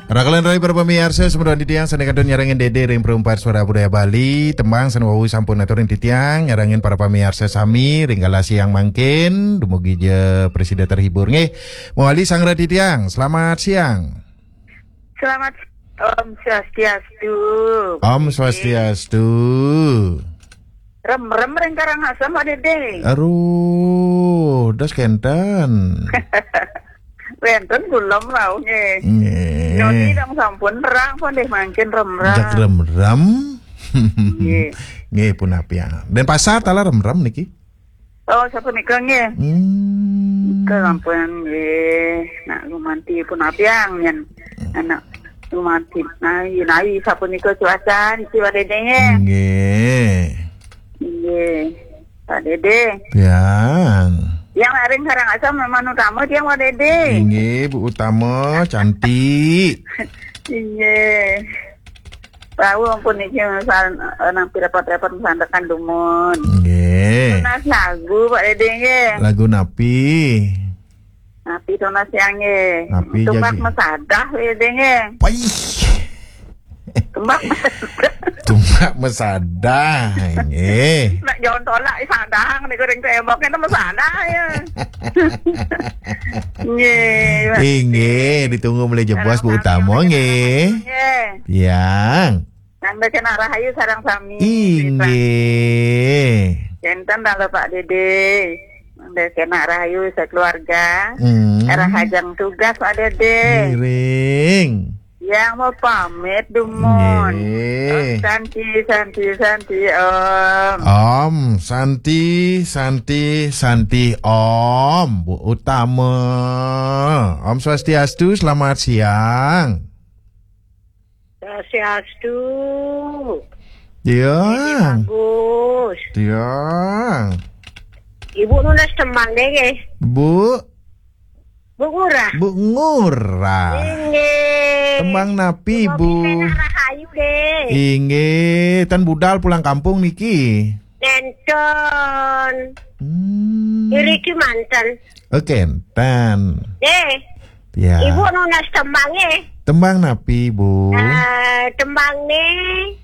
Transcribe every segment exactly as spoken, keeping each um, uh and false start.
Rakalan rai para pamiarsa, semeton titiang sane kantun nyarengin Dede ring Perumpat Suara Budaya Bali, tembang sane wau sampun atur ring titiang, nyarengin para pamiarsa sami ring galah siang mangkin, dumugi ja prasida terhibur nggih. Mawali sang rai titiang, selamat siang. Selamat Om Swastiastu. Om Swastiastu. Rem-rem ring Karangasem, Pak Dede. Aduh, dos kenten. Wenten kula rauh nggih. Nggih. Nyoni dong sampun nerang pun deh mangkin rem-rem. Jak rem-rem. Nggih. Nggih, punapi ya. Denpasar taler rem-rem niki. Oh, sapunika nggih. Hmm. Nika sampun nggih. Nak gumanti punapi yen. Anak gumanti. Nah, yinawi sapunika cuaca niki, Pak Dede nggih. Nggih. Nggih. Pak Dede. Tiang. Tiang ring Karangasem memang utama tiang, Pak Dede. Inggih, Bu Utama, cantik. Inggih. Tahu ampun niki misal, eh, nampi repot-repot misandekan dumun. Nggih. Tunas lagu, Pak Dede nggih. Lagu napi? Napi tunas tiang nggih. Napi Tumbak jagi? Mesadah, Pak Dede nggih. Paih. Tumbak mesadah. Tumbak mesadah, nggih. Nak jalan tolak, sadang niku ring tembok, itu mesadah ya. Nggih, Pak. Inggih, ditunggu mulai jebos Bu Utama, nggih. Nggih. Tiang. Nang kena rahayu sareng sami. Inggih. Kenten dalu Pak Dede. Nang kena rahayu sekeluarga. Hmm. Rahajeng tugas, Pak Dede. Ngiring. Yang mau pamit dumun. Nggih. Santi, santi, santi, Om. Om, santi, santi, santi, Om. Bu Utama. Om Swastiastu, selamat siang. Swastiastu. Ya. Bagus. Ya. Ibu nunas tembang deh, nggih. Bu. Bu Ngurah. Bu Ngurah. Inggih. Tembang napi, Bu? Rahayu deh. Inggih, tan budal pulang kampung niki. Nenten. Hmm. Iriki manten. Oke, tan. Deh. Ya. Ibu nunas tembang nggih. Tembang napi, Bu? Eh, tembang nih,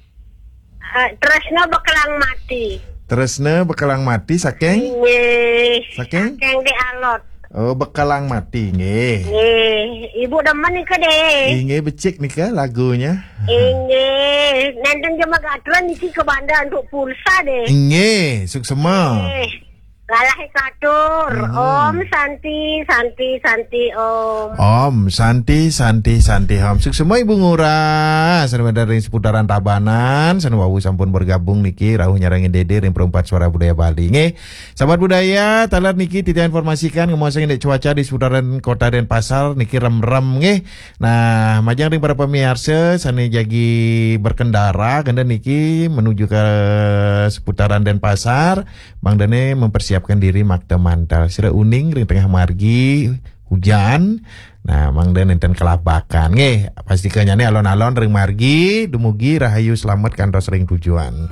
eh, Tresna Bekelang Mati. Tresna Bekelang Mati saking? Nggih. Saking? Saking di Alot. Oh, Bekelang Mati, nggih. Nggih, Ibu demen nika deh. Inggih, becik nika lagunya. Inggih, nenten jema gatren niki ke bandar untuk pulsa deh. Inggih, suksema. Nggih. Galah katur. Hmm. Om Santi, Santi, Santi, Om. Om Santi, Santi, Santi, Om. Suksema Ibu Ngurah, sane wenten ring seputaran Tabanan, sane wau sampun bergabung niki, rauh nyarengin Dede ring Perumpat Suara Budaya Bali. Nggih, sahabat budaya, taler niki titiang informasikan ngemaos indik cuaca di seputaran Kota Denpasar niki rem-rem nggih. Nah, majeng ring para pamiarsa sane jagi berkendara kenten niki menuju ke seputaran Denpasar, mangdane mempersiapkan diri makta mantel. Sira uning ring tengah margi hujan. Nah, mangda nenten kelabakan nggih. Pastika nyane alon-alon ring margi dumugi rahayu selamet kantos ring tujuan.